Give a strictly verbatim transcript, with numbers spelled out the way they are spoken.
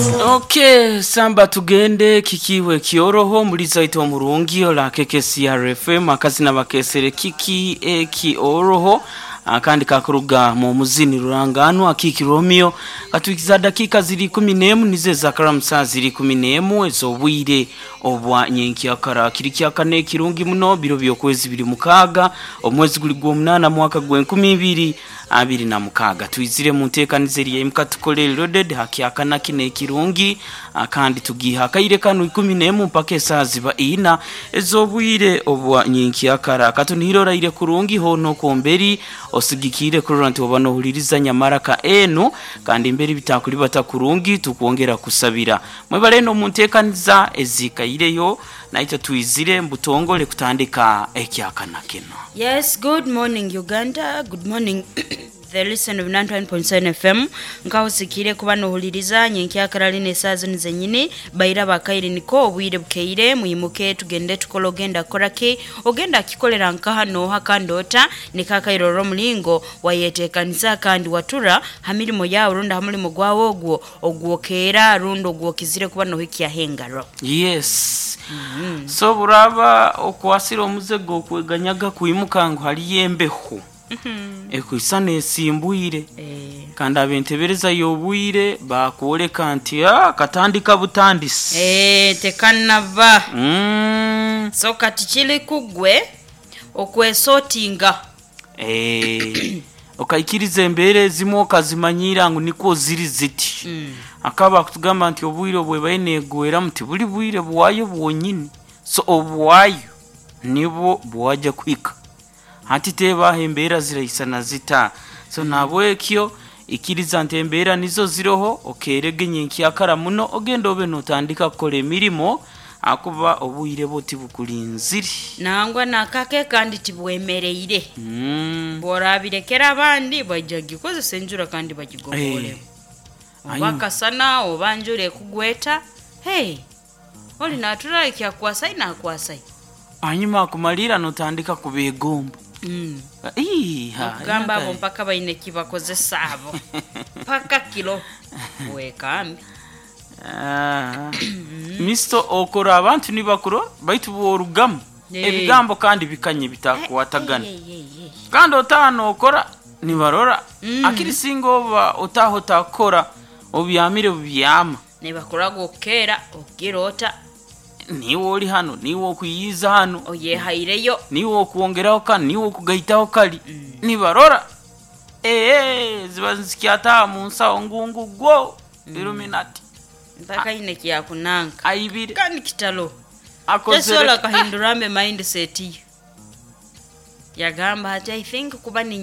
Okay, samba tugende kikiwe kioroho muri zaito omurungi ola K K C R F M akazina bakesere kiki ekioroho akandi kakuruga mu muzini ruranganwa Kiki Romeo. Katuikiza dakika ziri kumi n'emu nize zakaramusa ziri kumi n'emu ez'obwire obwa nyenkyakara, kiri kyakane ekirungi muno, biro by'okwezi biri mukaaga, omwezi guli gw'omunaana, mwaka gw'enkumi ibiri abiri na mukaaga. Twizire mu nteekaniza eri yaimuka tukole loaded hakyakana kino ekirungi, kandi tugiha akaire kanu ikumi n'emu mpaka esaaha ziba ina ez'obwire obwa nyenkyakara. Katunihire oraire kurungi hoona okomberi osigikire kurora nti oba nohuliriza nyamaraka enu, kandi mberi bitakulibata kurungi tukwongera kusabira mwebale eno mu nteekaniza ezikaireyo. Naitwe twizire mbutongole kutandika ekyakana kino. Yes, good morning, Uganda. Good morning, the listen of ninety-one point seven F M. Nkahusikire kuba nohuliriza nyenkyakara lino esaaha zino zenyini. Baira bakaire niko obwire bukeire, mwimuke tugende tukole. Ogenda kukoraki? Ogenda kikolera nkaha noha kandi ota nikakaire olw'omulingo wayeteekaniza kandi watura ha mirimo yawe rundi ha mulimo gwawe ogwo ogwokeera rundi ogwokizire kuba nohikyaho engaro. Yes, so buraba okwasire omuze gw'okweganyaga kwimuka ngu haliyo embeho ekwisa nesimbwire Eh, kandi abentebereza y'obwire bakwoleka nti ah, katandika butandisi. Eh, tekanaba. Mm. So kati kiri kugwe okwesotinga. Eh, okaikiriza embeera ezimu okazimanyira ngu nikwo ziri ziti. Akaba akutugamba nti obwire obwebaye negwera muti buli bwire bwayo bwonyini, so obwayo nibwo bwajya kuhika hati tebaho embeera ziraisana zita. So nabwekyo ikiriza nti embeera nizo ziroho, okerege nyenkyakara muno ogenda obe notandika kukora emirimo akuba obwire bwo tibukulinzire. Nangwa nakake kandi tibwemereire. mm. Bworabirekera abandi bajja gikozesa enjura kandi bagigobole. Eh. Oba kasana oba njura ekugweta, hey, oli natura kyakwasai nakwasai. Hanyuma akumalira notandika kubegomba. mm. Iha, Okugamba abo inaka- mpaka baine kibakozesa abo mpaka kilo wekambi. Ah. Misto okora abantu nibakuro baitu bworugamu Eh. ebigambo kandi bikanye bitakwatagana. Hey, hey, hey. Kandi otaha nokora nibarora. Mm. Akiri singa oba otaha otakora obyamire bubyama. Nibakoraga okukeera okukirota. Niwe oli hano, niwe okuyiza hano. Oyehaireyo. Niwe okwongeraho kano, niwe okugaitaho kali, nibarora ee ziba zikyataha mu nsawo ngungu gwo Illuminati. Mpaka ine kyakunanka. Aibire. Kandi kitalo. Akozere. Tesobola kahindurambe mindset ye yagamba ati, "I think kuba ninye